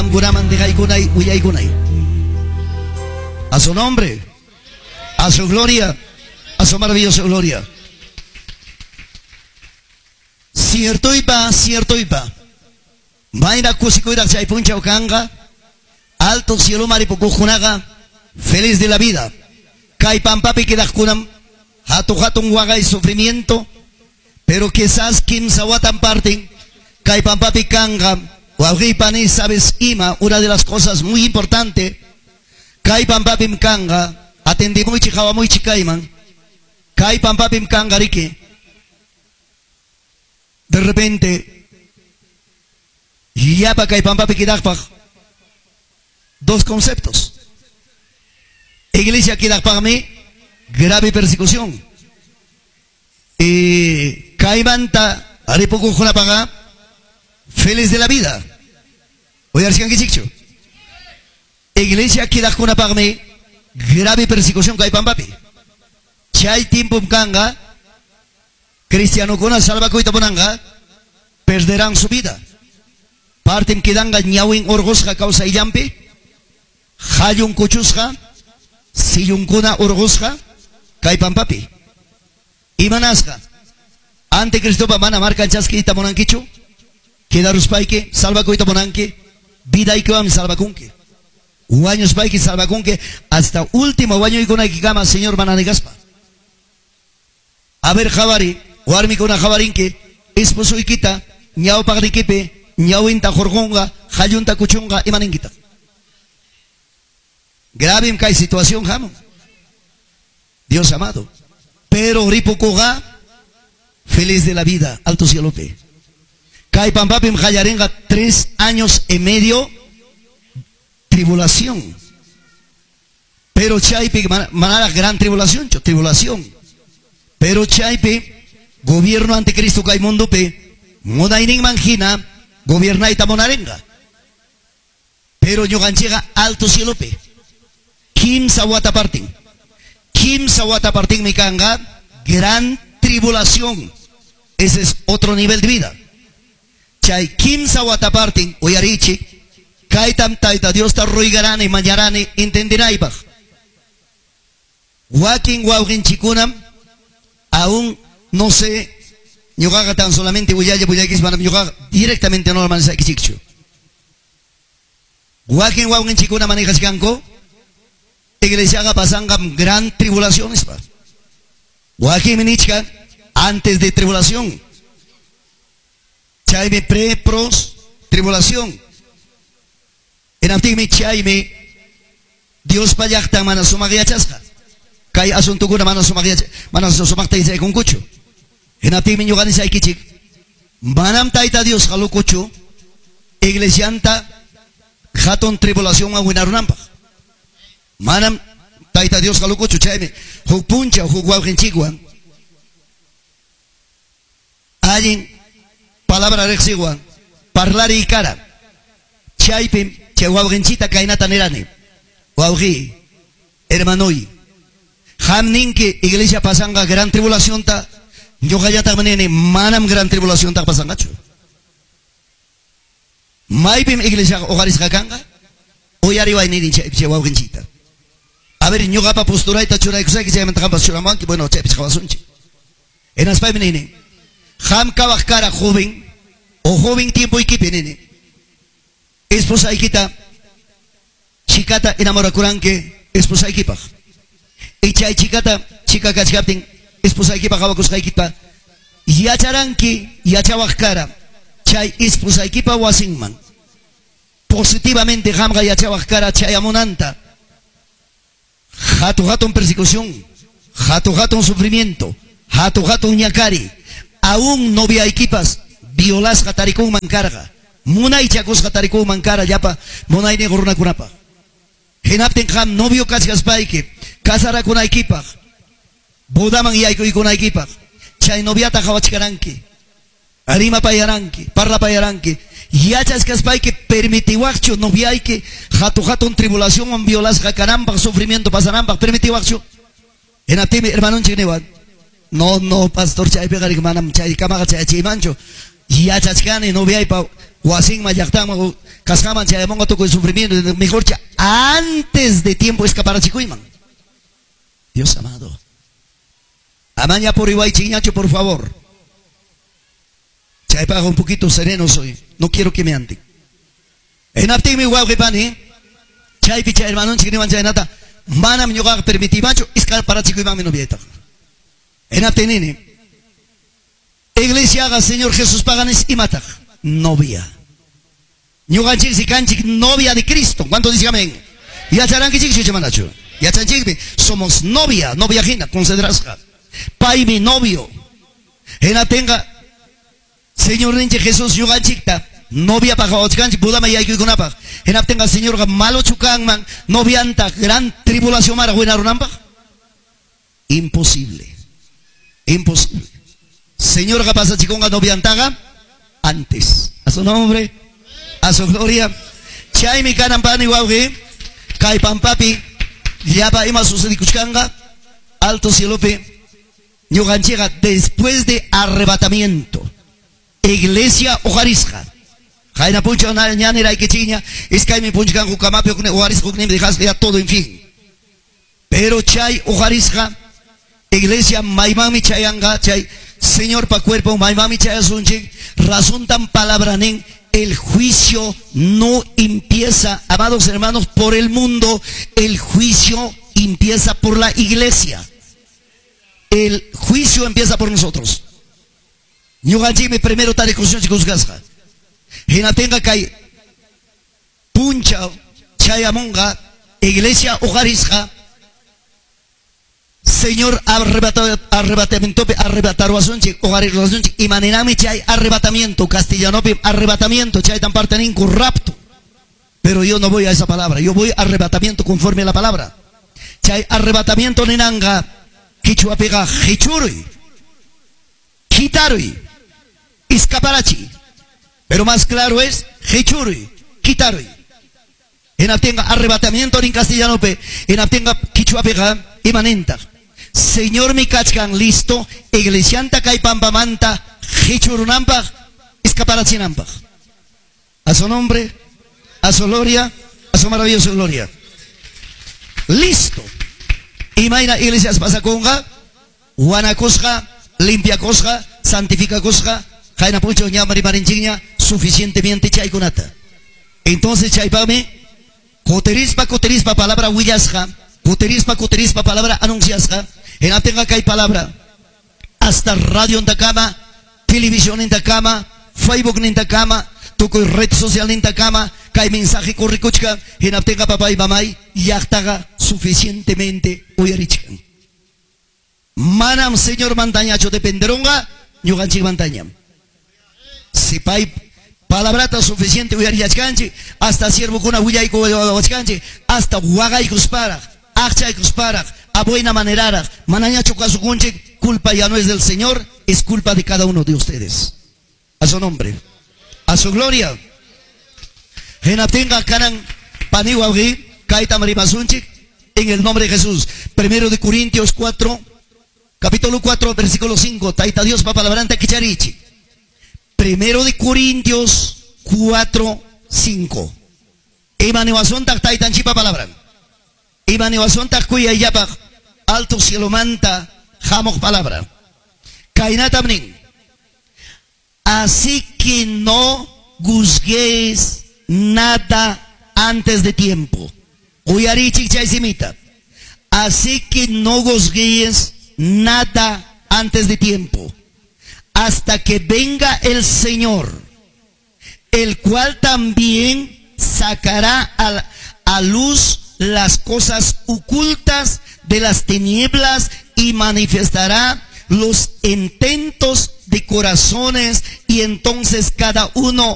Qamkunaman dejaykunay willaykunay. A su nombre, a su gloria, a su maravillosa gloria. Ciertoypa, ciertoypa. Mayna kusikuyraq chay punchaw kanqa, alto cieloman ripukuqkunaqa feliz de la vida. Kay pampapi quedaqkunam hatu hatun waqay sufrimiento, pero quizás kimsa watan parten kay pampapi kanqa. Wawqiy pani, sabes ima, una de las cosas muy importante, kay pampapim kanqa, atendimuychik qawamuychik kayman, kay pampapim kanqa riki. De repente, llapa kay pampapi quedaqpaq dos conceptos. Iglesia quedaqpaqmi grave persecución. Y kaymanta ripukuqkunapaqa feliz de la vida. Uyarishkankichikchu? Iglesia quedaqkunapaqmi grave persecución kay pampapi. Chay tiempom kanqa cristianokuna salvakuyta munanqa perderán su vida. Partem quedanqa ñawin urqusqa kawsayllampi, qallun kuchusqa, sillunkuna urqusqa kay pampapi. Imanasqa anticristopa mana markan chaskiyta munankichu? Quedaruspayki salvakuyta munanki, vidaykiwanmi salvakunki. Wañuspayki salvakunki hasta último wañuykunaykikama Señor mana negaspa. A ver, qhawari, warmikuna qhawarinki, esposoykita ñawpaqnikipi ñawinta hurqunqa, qallunta kuchunqa, imaninkitaq? Gravem kay situación hamun. Dios amado. Pero ripukuqa feliz de la vida, alto cielopi. Kay pampapim qallarinqa 3 años y medio tribulación. Pero chaypi manaraq gran tribulación, tribulación. Pero chaypi gobierno anticristo kay mundopi munayninman hina gobiernayta munarinqa. Pero ñuqanchikqa alto cielopi kimsa wata partin. Kimsa wata partinmi kanqa gran tribulación. Ese es otro nivel de vida. Chay kimsa wata partin uyarichik kaytam Tayta Diosta ruigarani mañarani entendinaypaq. Wakin wawqinchikunam aún no sé, ñuqaqa tan solamente willalla willaykis manam ñuqaqa directamente no manisaykichikchu. Wakin wawqinchikuna manejachkanku iglesiaqa pasanqa gran tribulaciones pa. Wakinmi nichkan antes de tribulación. Chaymi pre pros tribulación. Hinaptinmi chaymi Diospa llaqtan mana sumaq yachasqa. Kay asuntukuna mana sumaq yacha, mana sumaqta yachaykunkuchu. Hinaptinmi ñuqa nisaykichik, manam Tayta Diosqa locochu iglesianta hatun tribulacionwan winarunanpaq. Manam Tayta Diosqa locochu, chaymi huk punchaw huk wawqinchikwan allin palabra riqsiwan parlariy kara. Chaypim chay wawqinchita kaynata nirani: wawqi, hermanoy, qam ninki iglesia pasanqa gran tribulacionta, ñuqallataqmi nini manam gran tribulacionta pasanqachu. Maypim iglesiaqa uqarisqa kanqa? Uyariway nini chay wawqinchita. A ver, ñuqapa posturayta churaykusayki, chaymanta qampas churamanki, bueno, chaypi qhawasunchik. Hinaspaymi nini, qam kawaq kara joven o joven tiempoykipi nini, esposaykita chikata enamorakuranki esposaykipaq. Y chay chikata chika kachkaptin esposaykipaq qhawakusqaykipa yacharanki, yachawaq kara chay esposaykipa wasinman positivamente qamqa yachawaq kara chayamunanta hatu hatun persecución, hatu hatun sufrimiento, hatu hatun ñakari, aún noviaykipas violasqa tarikunman karqa, munaychakusqa tarikunman kara llapa munayniq runakunapaq. Hinaptin qam novio kachkaspayki casarakunaykipaq, bodaman yaykuykunaykipaq, chay noviata qhawachkaranki, rimapayaranki, parlapayaranki, yachachkaspayki permitiwaqchu noviayki hatu hatun tribulacionwan violasqa kananpaq, sufrimiento pasananpaq, permitiwaqchu? Hinaptinmi hermanonchik niwan, no, no, pastor, chaypiqa manam chay kamaqa chayachiymanchu, yachachkani noviaypa Wasinman, llaqtanman, kasqanman chayamunqa tukuy sufrimiento, mejorcha antes de tiempo escaparachikuyman. Dios amado. Amaña puriwaychikñachu, por favor. Chaypaq un poquito sereno soy. No quiero que me anden. Hinaptinmi, wawqi pani, chaypi chay hermanonchik niwan chaynata, manam ñuqaqa permitimanchu, escaparachikuymanmi noviaytaqa. Hinaptin nini, iglesiaqa Señor Jesuspaqa nis imataq? Novia. Ñuqanchiksi kanchik novia de Cristo. ¿Cuánto dice amén? Yacharankichikchu icha manachu? Yachanchikmi, somos novia, novia hina considerasqa. Paymi novio. Hinaptinqa Señorninchik Jesús ñuqanchikta noviapaq qawachkanchik bodaman yaykuykunapaq. Hinaptinqa Señorqa malochu kanman novianta gran tribulacionmaraq winarunanpaq? Imposible. Imposible. Señorqa pasachikunqa noviantaqa antes. A su nombre, a su gloria. Chaymi kanan, pani, wawqi, kay pampapi llapa ima sucedikuchkanqa alto cielopi ñuqanchikqa después de arrebatamiento iglesia uqarisqa. Qayna punchaw ña niraykichikña, iskaymi punchkanku kamapi, huknin uqarisqa, hukninmi dejasqa, ya todo, en fin. Pero chay uqarisqa iglesia maymanmi chayanqa, chay Señorpa cuerpo maymanmi chayasunchik, razontan palabra nin, el juicio no empieza, amados hermanos, por el mundo, el juicio empieza por la iglesia. El juicio empieza por nosotros. Ñuqanchikmi primero tarikusunchik juzgasqa. Hinaptinqa kay punchaw chayamunqa iglesia uqarisqa Señor arrebatamientopi arrebataruwasunchik, uqariruwasunchik. Imaninami chay arrebatamiento? Castellanopi arrebatamiento, chaytan parte ninku rapto. Pero yo no voy a esa palabra, yo voy a arrebatamiento conforme a la palabra. Chay arrebatamiento ninanqa qichwapiqa qichuruy, quitaruy, escaparachi. Pero más claro es qichuruy, quitaruy. Hinaptinqa arrebatamiento en castellanopi, hinaptinqa qichwapiqa imanintaq? Señormi kachkan listo iglesianta kay pampamanta qichurunanpaq, escaparachinanpaq. A su nombre, a su gloria, a su maravillosa gloria. Listo. Imayna iglesias pasakunqa, wanakusqa, limpiakusqa, santificakusqa, qayna punchaw ña rimarinchikña suficientemente chaykunata. Entonces chaypaqmi kutirispa kutirispa palabra willasqa, kutirispa kutirispa palabra anunciasqa, hinaptinqa kay palabra hasta radio nintakama, televisión nintakama, Facebook nintakama, tukuy red social nintakama, kay mensaje corrikuchkan, hinaptinqa, papay, mamay, llaqtaqa suficientemente uyarichkan. Manam Señor mantañachu dependerunqa, ñuqanchikmantañam. Si pay palabrata suficiente uyarillachkanchik, hasta siervokuna willaykuwachkanchik, hasta waqaykusparaq, aqchaykusparaq, a buena maneraraq, manañachu kasukunchik, culpa ya no es del Señor, es culpa de cada uno de ustedes. A su nombre, a su gloria. Hinaptinqa kanan, pani, wawqi, kaytam rimasunchik en el nombre de Jesús. Primero de Corintios 4, capítulo 4, versículo 5. Tayta Diospa palabranta kicharichik. Primero de Corintios 4, 5. Ima niwasuntaq taytanchikpa palabran? Ima niwasuntaq kuyayllapaq alto cielomanta hamuq palabra? Kaynatam nin. Así que no juzguéis nada antes de tiempo. Uyarichik chay simita. Así que no juzguéis nada antes de tiempo, hasta que venga el Señor, el cual también sacará a luz las cosas ocultas de las tinieblas y manifestará los intentos de corazones, y entonces cada uno